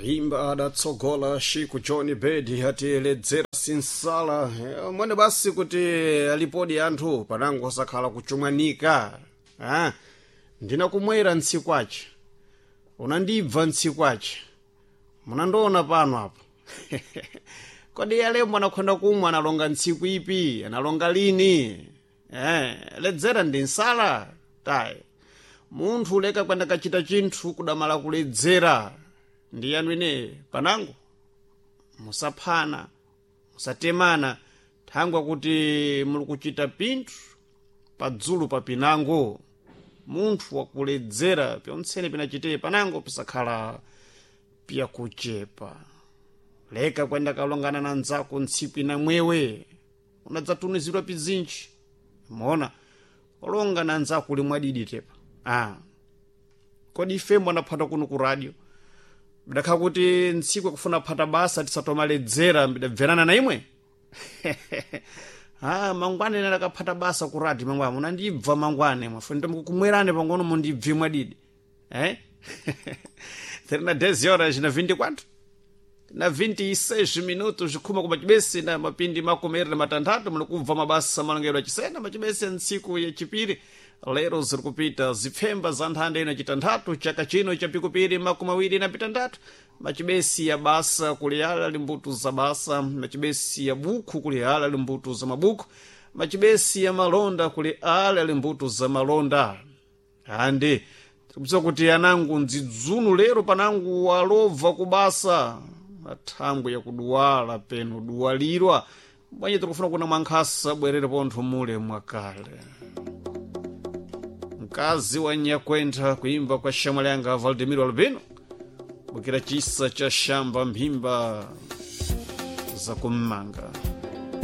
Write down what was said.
Imba adatsogola Shiku John Bedi atiledzera sinsala. Mwene basi kuti alipodi anthu panango osakhala kuchumwanika. Ah, ndinakumwera ntsiku ace, unandibva ntsiku ace, munandiona pano apo. Kodi alembo anakhonda kumwa analonga ntsiku ipi, analonga lini? Ledzera ndi nsala tayi. Munthu uleka kwenda kachita chinthu kudamala kuledzera. Ndi yanu ine panango musaphana, musatemana, thangwa kuti muli kuchita pinthu padzulu pa pinango. Munthu wakuledzera pyontsene pinachitee panango pisakhala piyakuchepa. Leka kwenda kalongana na nzako ntsiku inamwewe unadzatunizidwa pizinji. Mona olonga na nzako uli mwadidi tepa. Kodi ife mwanaphata kuno ku radio bidakhala kuti ntsiku akufuna phata basa tisatomaledzera, bidabverana na imwe. Mangwane ine ndakaphata basa ku radio, mangwane munandibva, mangwane mwafuna ndomkumwerani pangono mundibve mwadidi. Terina 10 horas na 24 na 26 minutos, khuma kuma chibesi na mapindi 26, muli kubva mabasa malongedwe achisena machibesi ntsiku yachipiri. Lero ziri kupita zipfemba za nthanda ino chitanthatu chaka chino cha pikupiri 26. Machibesi ya basa kuliyala limbuto za basa, machibesi ya bukhu kuliyala limbuto za mabukhu, machibesi ya malonda kuli ala limbuto za malonda. Andi tikudziwa kuti anangu ndzidzunu lero panangu walobva kubasa athangwe yakuduwala peno duwalirwa bwanji tikufuna kuna mwankhasa bwerere pontho mule mwakale. Mkazi wa nyakwentha, kuimba kwa shamwali yanga Valdemiro Albino, bukira chisa cha shamba mphimba zakummanga.